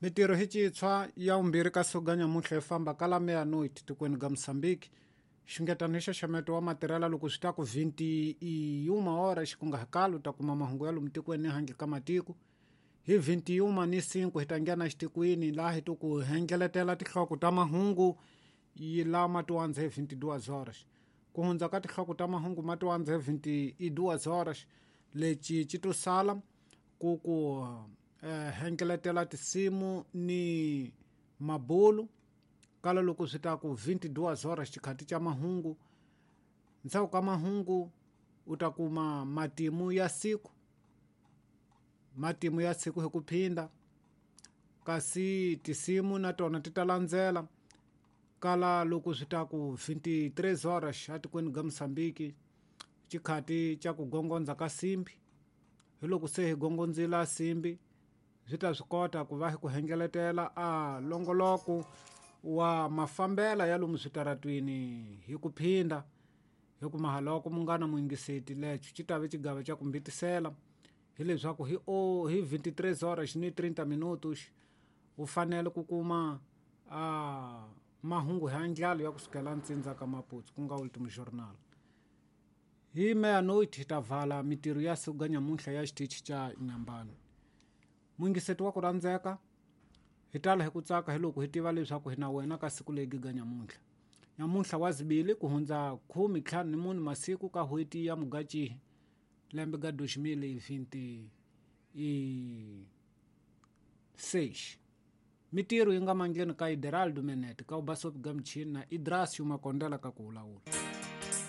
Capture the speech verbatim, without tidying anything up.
Mitirho hi citshwa ya vumbirhi ka siku ga nyamuntlha yi famba ka la meia-noite tikweni ga Moçambique. Xungetano hi xaxameto wa matirhela loko swi ta ku vinte e uma horas ku nga hakalo u ta kuma mahungu ya lomu tikweni ni handle ka matiko. Hi vinte e uma ni cinco hi ta nghena xitikweni laha hi to ku hengeletela tinhloko ta mahungu yi lama tiwandza hi vinte e duas horas. Ku hundza ka tinhloko ta mahungu ma tiwandza hi vinte e duas horas leci ci to sala ku ku eh, hengeletela tinsimu ni mabulu kala loko swi ta ku vinte e duas horas xikhati xa mahungu. Ndzhaku ka mahungu u ta kuma matimu ya siku, matimu ya siku hi ku phinda, kasi tinsimu na tona ti ta landzela kala loko swi ta ku vinte e três horas atikweni ga Moçambique xikhati xa ku gongondza ka simbi. Hi loko se hi gongondzile simbi swi ta swi kota ku va hi ku hengeletela a longoloko wa mafambela ya lomu switaratwini hi ku phinda hi ku mahaloko munghana muyingiseti lexo xi ta ve xigava xa ku mbitisela hileswaku hi o hi vinte e três horas ni trinta minutos u fanele ku kuma a mahungu hi ndlalo ya kusukela ntsindza ka Maputo ku nga Ultimo Jornal. Hi meia-noite hi ta vala mitirho ya siku ga nyamuntlha ya xitichi xa Nyambani. Muyingiseti wa ku rhandzeka, hi tala hi ku tsaka hi loko hi tiva leswaku hi na wena ka siku legi ga nyamuntlha. Nyamuntlha wa zibili ku hundza khume ntlhanu ni mune masiku ka n'hweti ya Mugachihi lembe ga dois mil e vinte e seis. Mitirho yi nga mandleni ka Ideraldo Menete ka ubasopi ga michini na Idrasio Makondela ka ku vulavula.